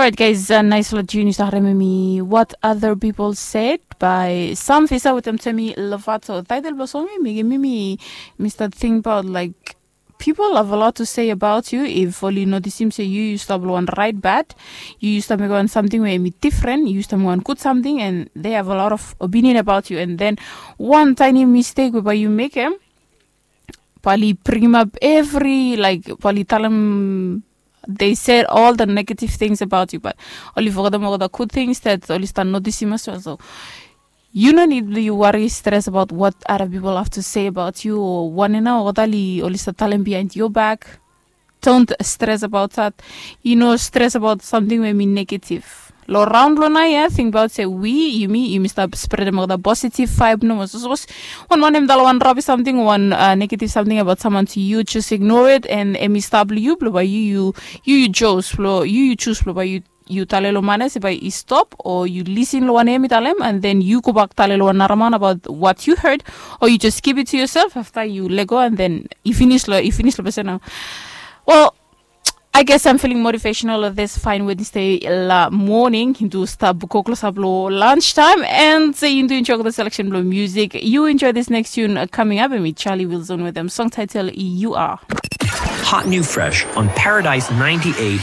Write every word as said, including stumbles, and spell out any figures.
Right, guys, uh, nice lot you start me what other people said by Sam Fisa with them to me Lovato. Title blossom me me me me start think about like people have a lot to say about you. If only notice him say you used to have one right bad, you used to make one something where me different, you used to make one good something, and they have a lot of opinion about you. And then one tiny mistake whereby you make him, pali bring him up every like pali tell him they said all the negative things about you, but only forgot them all the good things that only start noticing as well. So you no need to worry, stress about what other people have to say about you or one and all that only start telling behind your back. Don't stress about that. You know, stress about something where me negative. Lo round lo na ya, think about say we, you me, you must start spread them all the positive vibe. No, so suppose one one him tell one rubbish something, one uh, negative something about someone to you, just ignore it and emi stop you blow by you, you you you chose blow you you choose blow by you you talelo mane se by you stop or you listen lo one emi talem and then you go back talelo one naraman about what you heard, or you just keep it to yourself after you let go and then you finish lo you finish lo person now. Well, I guess I'm feeling motivational of this fine Wednesday la morning. Into stop buko close up lo lunchtime and say into enjoy the selection lo music. You enjoy this next tune uh, coming up and with Charlie Wilson with them song title You Are. Hot new fresh on Paradise ninety-eight